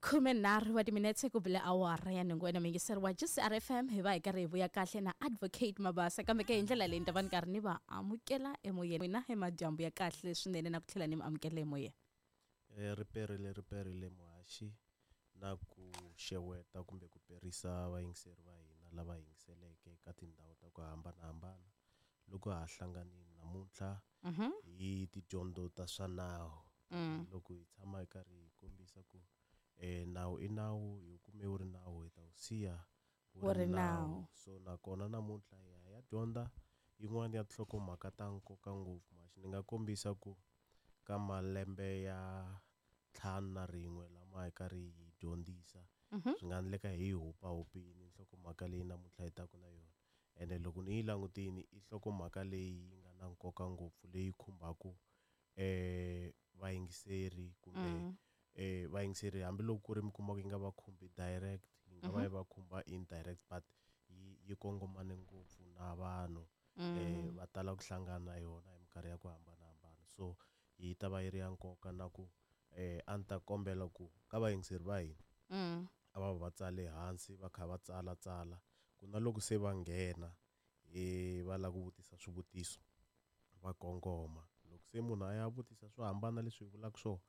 13 wa timinetse ku bile awara ya nhungu. Wena muyingiseri wa GCR FM, hi va hi karhi hi vuya kahle na Advocate Mabasa, kambe ke hi ndlela leyi ni ta va ni karhi ni va amukela emoyeni. N'wina hi madyambu ya kahle swinene na ku tlhela ni mi amukela emoyeni. Riperile, riperile muhaxi, na ku xeweta kumbe ku perisa vayingiseri va hina lava yingiseleke ka tindhawu ta ku hambanahambana loko ha hlanganile namuntlha hi tidyondzo ta swa nawu. Loko hi tshama hi karhi hi kombisa ku nawu i nawu, hi kume wu ri nawu, hi ta wu siya wu ri nawu. So nakona namuntlha hi ya dyondza yin'wana ya tinhlokomhaka ta nkoka ngopfu. Muhaxi, ni nga kombisa ku ka malembe ya 51 lama hi karhi hi dyondzisa, swi nga endleka hi hupahupini nhlokomhaka leyi namuntlha hi taku na yona. Ene loko ni yi langutini, i nhlokomhaka leyi yi nga na nkoka ngopfu, leyi khumbaku vayingiseri kumbe vayingiseri, hambiloko ku ri mi kuma ku yi nga va khumbi direct, yi nga va yi va khumba indirect, but yi kongomane ngopfu na vanhu. Va tala ku hlangana na yona hi minkarhi ya ku hambanahambana, so yi ta va yi ri ya nkoka. Na ku a ni ta kombela ku ka vayingiseri va hina a va va tsale hansi, va kha va tsala tsala, ku na loko se va nghena va lava ku vutisa swivutiso, va kongoma. Loko se munhu a ya vutisa swo hambana leswi hi vulaka swona,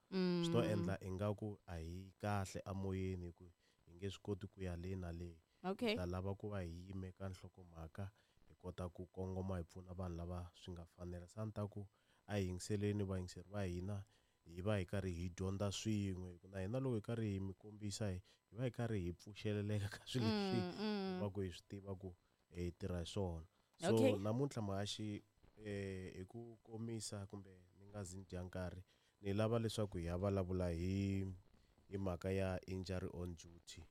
swi to endla ingaku a hi kahle amoyeni, hi ku hi nge swi koti ku ya le na le. Ta lava ku va hi yime ka nhlokomhaka, hi kota ku kongoma, hi pfuna vanhu lava swi nga fanela. Se a ni ta ku a hi yingiseleni vayingiseri va hina, hi va hi karhi hi dyondza swin'we, hi ku na hina loko hi karhi hi mi kombisa, hi va hi karhi hi pfuxeleleka ka swilo leswi hi va ku hi swi tiva ku hi tirha hi swona. So namuntlha muhaxi, hi ku komisa kumbe ni nga zi ni dya nkarhi, ni lava leswaku hi ya vulavula hi mhaka ya injury on duty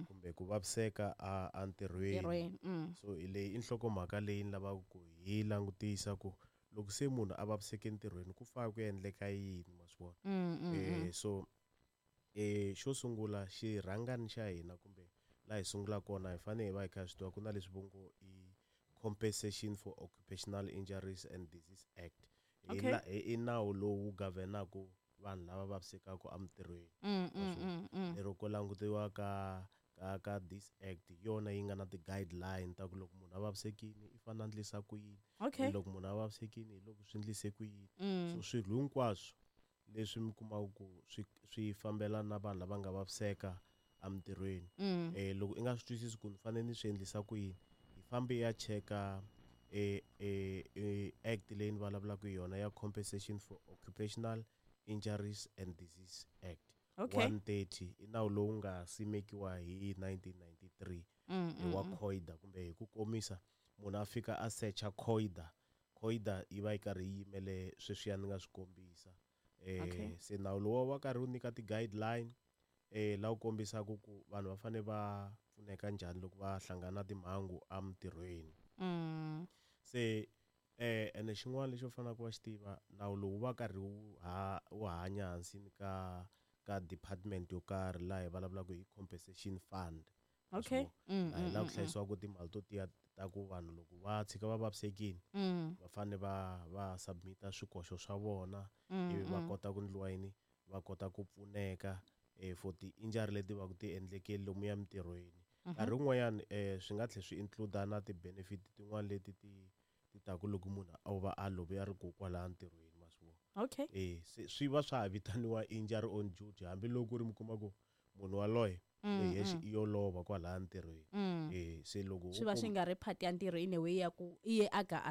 kumbe ku vaviseka a ntirhweni. So hi leyi i nhlokomhaka leyi ni lavaka ku hi langutisa ku loko se munhu a vaviseke entirhweni, ku fana ku endleka yini, ma swi vona. So xo sungula, xirhangani xa hina kumbe laha hi sungulaka kona, hi fanele hi va hi kha hi swi tiva ku na leswi vo ngo i Compensation for Occupational Injuries and Disease Act. I nawu lowu governaku vanhu lava vavisekaka emintirhweni. Lero ku langutiwa ka this act, hi yona yi nga na ti-guideline ta ku loko munhu a vavisekile, i fanele a endlisa ku yini, loko munhu a vavisekile, hi loko swi endlise ku yini. So swilo hinkwaswo leswi mi kumaka ku swi fambelana na vanhu lava nga vaviseka emintirhweni, loko i nga swi twisisi ku ni fanele ni swi endlisa ku yini, hi fambe hi ya cheka act leyi ni vulavulaka hi yona ya Compensation for Occupational Injuries and Disease Act 130. I nawu lowu nga simekiwa hi 1993, hi wa COIDA, kumbe hi ku komisa munhu a fika a secha COIDA. COIDA yi va yi karhi yi yimele sweswiya ni nga swi kombisa. Se nawu lowu wa karhi wu nyika ti-guideline la wu kombisaka ku vanhu va fanele va pfuneka njhani loko va hlangana na timhangu emintirhweni. Se ene xin'wana lexi u faneleke va xi tiva, nawu lowu va karhi wu hanya hansini ka department yo karhi laha hi vulavulaka hi compensation fund. Laha hi laha ku hlayisiwaka timali to tiya ta ku vanhu loko va tshika va vavisekile, va fanele va submit-a swikoxo swa vona, ivi va kota ku endliwa yini, va kota ku pfuneka for ti-injury leti va ku ti endlekile lomuya emintirhweni. Nkarhi wun'wanyani swi nga tlhela swi include na ti-benefit tin'wana leti ti taku loko munhu o va a love a ri ko kwalaya ntirhweni, ma swi vona. Se swi va swa ha vitaniwa injury on duty, hambiloko ku ri mi kuma ku munhu waloye hi yexe i yo lova kwalaya ntirhweni. Se loko Swi va swi nga ri part ya ntirho in a way ya ku i ye a ga a